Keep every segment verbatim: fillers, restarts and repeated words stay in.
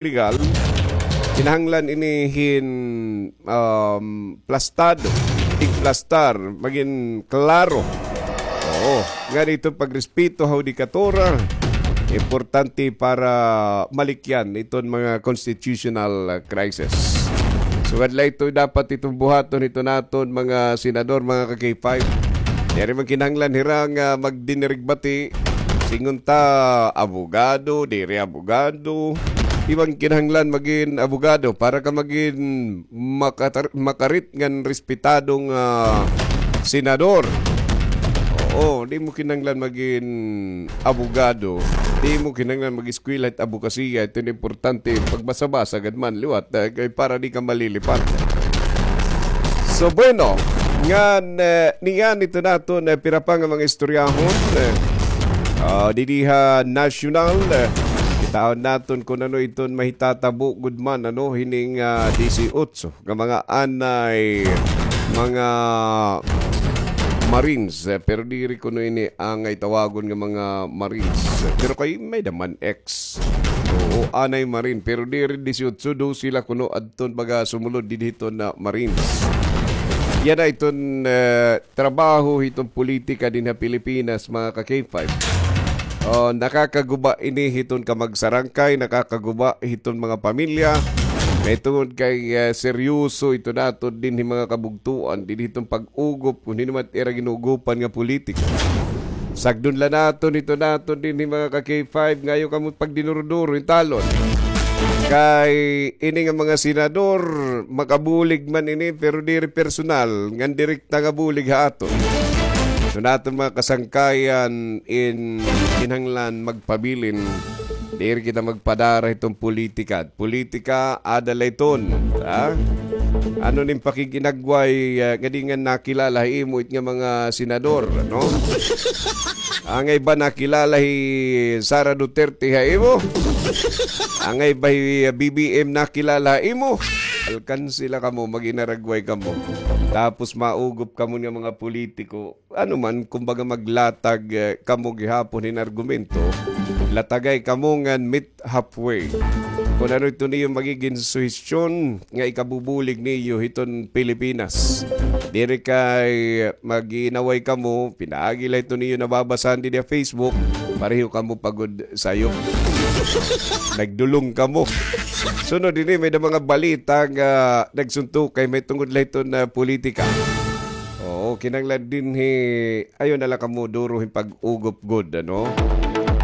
legal, kinahanglan ini hin, um, plastado, tigplastar, magin klaro. Oo, nga dito pagrespeto ha hudikatura, importante para malikyan iton mga constitutional, uh, crisis. So, adlay ito dapat iton buhaton iton aton mga senador, mga ka-K five. Diri man kinahanglan hira nga magdinirigbati. Singon ta, abogado, diri abogado. Di man kinahanglan magin abogado para ka magin makatar-, makarit ngan respetadong, ah, senador. Oo, di mo kinahanglan magin abogado. Di mo kinahanglan mag-eskwela hit abogasiya. Ito an importante, pagbasa-basa gad man liwat, eh, kay para di ka malilipat. So, bueno, ngan, eh, niyan ito naton, eh, pira pa nga mga istoryahon, eh, ah, didi ha national, eh, kitaon naton kun ano iton mahitatabo gud man, ano, hining, ah, disiotso nga mga anay, mga Marines, eh, pero diri kuno ini angay tawagon nga mga Marines. Pero kay may-ada man, eh, Oo, anay Marine, pero diri disiotso, dose la kuno adton baga sumulod didto na Marines. Yana iton, eh, trabaho hiton politika dinhi ha Pilipinas, mga ka-K five. Oh, nakakaguba ini hiton kamagsarangkay, nakakaguba hiton mga pamilya. Mahitungod kay, eh, seryoso ito naton dinhi mga kabugtuan, dinhi hiton pag-ugop, kun hin-o man ira gin-ugopan nga politika. Sagdon la naton ito naton dinhi, mga ka-K five, nga ayaw kamo pagdinuro-duro hin talon. Kay ini nga mga senador, makabulig man ini, pero diri personal, ngan direkta nga bulig ha aton. So, naton mga kasangkayan in kinahanglan magpabilin, diri kita magpadara hiton politika. Politika, ada la iton, ha? Ano nim pakig-inagway, ah, nga di nga nakilala ha imo it nga mga senador, no? Angay ba nakilala hi Sara Duterte ha imo? Angay ba hi, ah, B B M nakilala ha imo? Alkanse la kamo, mag-inaragway kamo. Tapos maugop kamo nga mga politiko. Ano man, kumbaga maglatag, eh, kamo gihapon hin argumento, latagay kamo ngan meet halfway. Kun ano ito niyo magigin suhestyon nga ikabubulig niyo hiton Pilipinas. Diri kay mag-iinaway kamo, pinaagi la ito niyo nababasahan didi ha Facebook, pareho kamo pagod sayo. Nagdulong kamo. Sunod ini, may-ada mga balita nga nagsuntukay, mahitungod la hiton, ah, politika. Oo, kinahanglan dinhi, ayaw na la kamo duro hin pag-ugop gud, ano?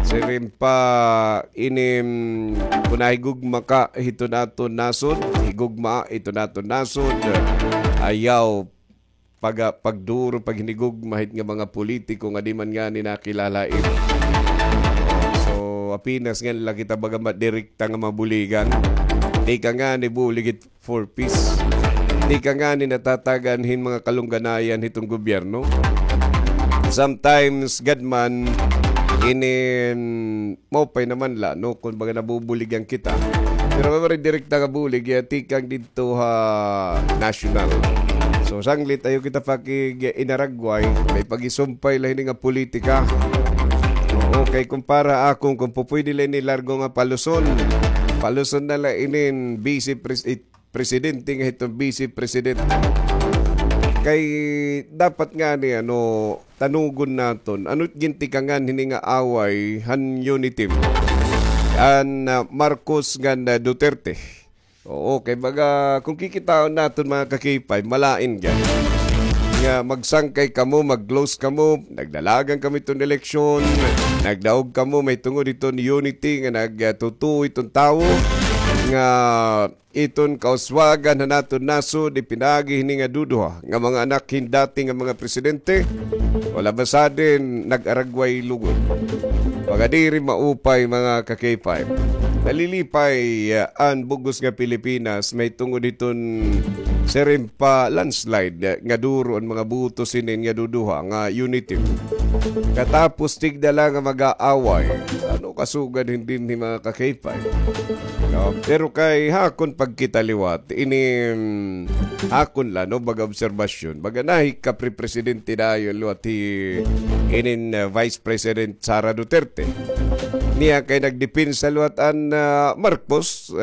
Siring pa ini, mm, kun nahigugma ka hiton aton nasod, higugma hiton aton nasod, ayaw pag-, pagduro, paghinigugma hit nga mga politiko nga di man ngani nakilala ha imo. So, apenas ngani la kita baga madirekta nga mabuligan. Di ka ngani bulig hit for peace. Di ka ngani natatagan hin mga kalungganayan hiton gobyerno. Sometimes, gad man, inin, maupay naman la, no, kun baga nabubuligan kita. Pero may direkta nga bulig, ya, tikang didto ha national. So, sanglit, ayaw kita pakig-inaragway, may pag-isumpay la hini nga politika. Oo, kay kumpara akon, kun pupwede la ini largo nga paluson, paluson na la inin vice pres-, eh, presidente nga hiton vice presidente. Kay dapat ngani, ano, tanugon naton, ano it gintikangan hini nga away han UNITIM, han, ah, Marcos ngan, ah, Duterte. Oo, kay baga, kun kikitaon naton, mga ka-K five, malain gani nga magsangkay kamo, mag-close kamo, nagdalagan kamo hiton eleksyon, nagdaog kamo mahitungod hiton unity nga nagtutuo hiton tawo nga iton kauswagan han aton nasod, ipinaagi hini nga duduha nga mga anak hin dati nga mga presidente, wala ba sadin nag-aragway lugod? Mga diri maupay, mga ka-K five. Nalilipay, ah, an bug-os nga Pilipinas mahitungod hiton siring pa landslide, ah, nga duro an mga boto sinin nga duduha nga unity. Katapos tigda la nga mag-aaway. Ano kasugad hin dinhi, mga ka-K five? No? Pero kay hakon pagkita liwat, ini, mm, hakon la, no, baga obserbasyon. Baga nahi kapre-presidente dayon liwat hi inin, uh, Vice President Sara Duterte. niya kay nagdepensa liwat an, ah, Marcos,